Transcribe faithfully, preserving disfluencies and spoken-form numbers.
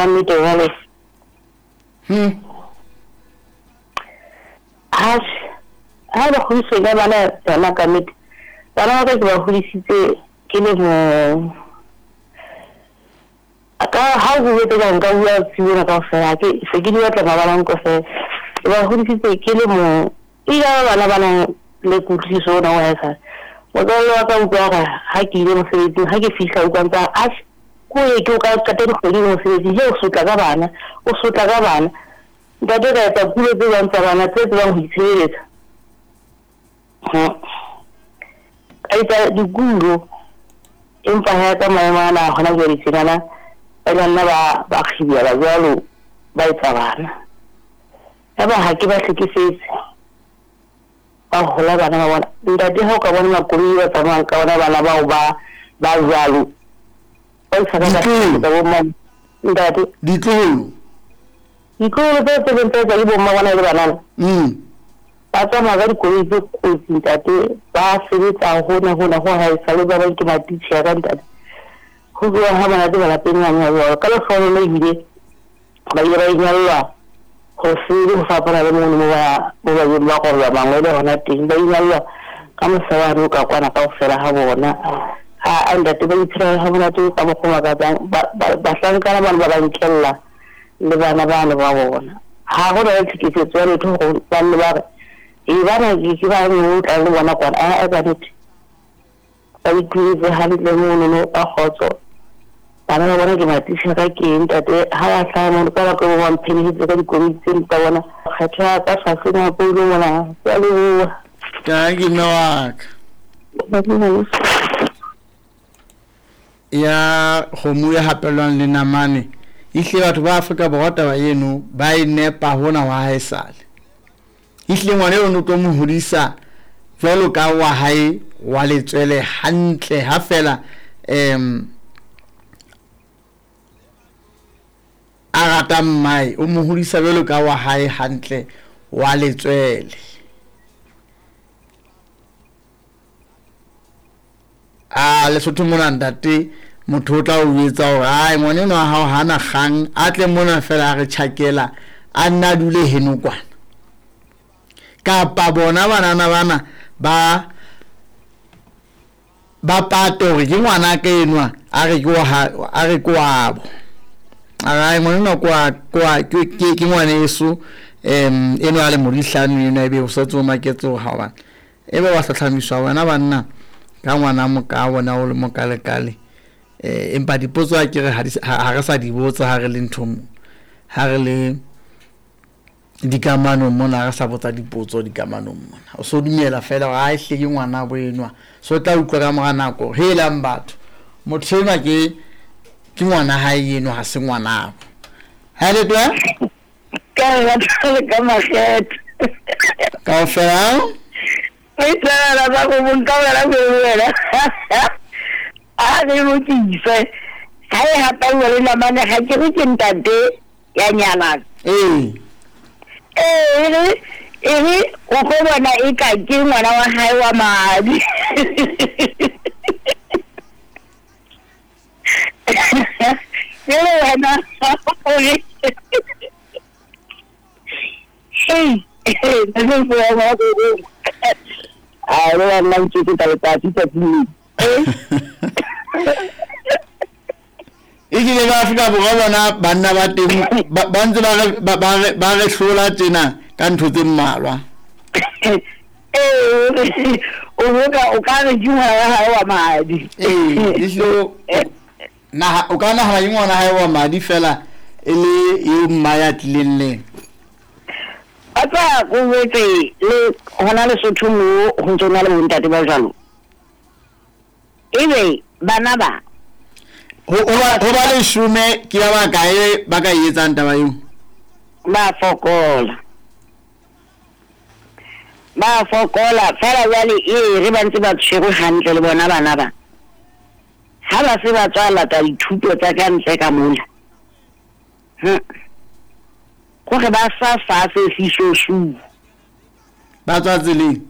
Ka nnete jwale. Hmm. Ha ha ba kgodiswe ka bana yona ka nnete. Bana ba ka ke ba hodisitse ke le mong. Ka ha o bue ka nka bua tsibona kaofela ke se ke di batla mabalang kaofela. Ke ba hodisitse ke le mong. E ya bana ba nang le kutlwisiso ona wa haesale. Motswalle wa ka utlwa hore ha ke ile mosebetsing, ha ke fihla utlwa ntse a re, ko ye ke o ka qeta dikgwedi le mosebetsing, he o sotla ka bana, o sotla ka bana. Ntate ka etsa pulo tse jwang tsa bana tse tsebang ho itshireletsa. Ka etsa dikulo, empa ha ka maemo ana hona jwale tjenana, ba ile nna ba ba kgibela jwalo ba etsa bana. Yaba ha ke ba hlekefetse. Ba hola bana ba bona. Ntate ha o ka bona makoloi ba tsamayang ka ona bana bao ba ba jwalo. Ba isa ka ka bo mma. Ntate ditloholo. Ditloholo tse tse tse tsa bo mma bona le banana. Mm. Ba tsamaya ka dikoloi tse kotsi ntate, ba sebetsa hona hona ho haesale ba bang ke matitjhere ka ntate. Ho bua ha monate malapeng a jwalo. Ka lehlohonolo ebile ba ile ba inyallwa ho sele ho fapana le mono mo ba mo ba ileng ba korwa mangwele hona teng. Ba inyallwa ka mosebane o ka kwana kaofela ha bona. Ha ntate ba iphela ha monate ka mokgwa o makatsang. Bahlankana bana ba ba nkella le bana bano ba bona. Ha ho na le tlhekefetso ya letho hore ba nne ba re e bana ke ba o tla le bona kwana. A ka nnete ba ituletse hantle mono ka kgotso. Bana ba bona ke matitjhere ke ntate ha ba hlaha mono ka baka bo ba mphelehetse ka dikoloi tse tsa bona. Kgetho ya ka hlwahlwa mapolo mona. Ke a leboha. Ka ke mme wa ka. Ya kgomo e hapelwang le namane. Ehlile batho ba Afrika Borwa taba eno ba e nepa hona wa haesale. Ehlile ngwana eno o tlo mo hodisa jwalo ka wa hae wa letswele hantle ha fela em a rata mmae o mo hodisa jwalo ka wa hae hantle wa letswele. A Lesotho mona ntate motho o tla o etsa hore ai ngwana enwa wa hao hana kgang a tle mona fela a re tjhakela a nna dule heno kwana. Kapa bona banana bana ba ba pate hore ke ngwana ka enwa a re ke wa a re ke wabo. A re ngwana enwa kwa kwa ke ke ngwaneso em enwa a le modihlano enwa ebe o setse o maketse hore ha bana. Ebe wa hlahlamiswa wena banna ka ngwana moka bona o le mokalekale. Eh empa dipotso a ke re ha re sa di botsa ha re le ntho mo ha re le dikamanong mona re sa botsa dipotso dikamanong mona o so dumela fela hore ha ehle ke ngwana bo enwa so tla utlwa ka mora nako helang batho motho enwa ke ke ngwana hae eno ha se ngwana ha le twa ka re ka makgetho kaofela e tla ba go bonka wena go wena a re lokise ha e hapauwa le namane ha ke re ke ntate ya nyalang ee ee e re o tlo bona e ka ke ngwana wa hae wa madi jele wena o re hey a re nna ntse ke tla letsatsi tsatsi e kile ba Afrika Borwa bona banna ba teng ba ntse ba ba ba re hlola tjena ka ntho tse mmalwa. Ee o boka o ka re ke ngwana wa hae wa madi. Ee ehlile na o ka nahana ke ngwana hae wa madi fela e le eo mma ya tlileng le a tsa go wetse le hona Lesotho mo ho ntse na le bontate ba jwalo ebe bana ba ho ho ba leshome ke ba bakae ba ka etsang taba eo ba fokola ba fokola fela jwale e re ba ntse ba tshwerwe hantle le bona bana ba ha ba se ba tswa lata dithuto tsa ka ntle ka mola gore ba sa fa se fisosu ba tswa tseleng.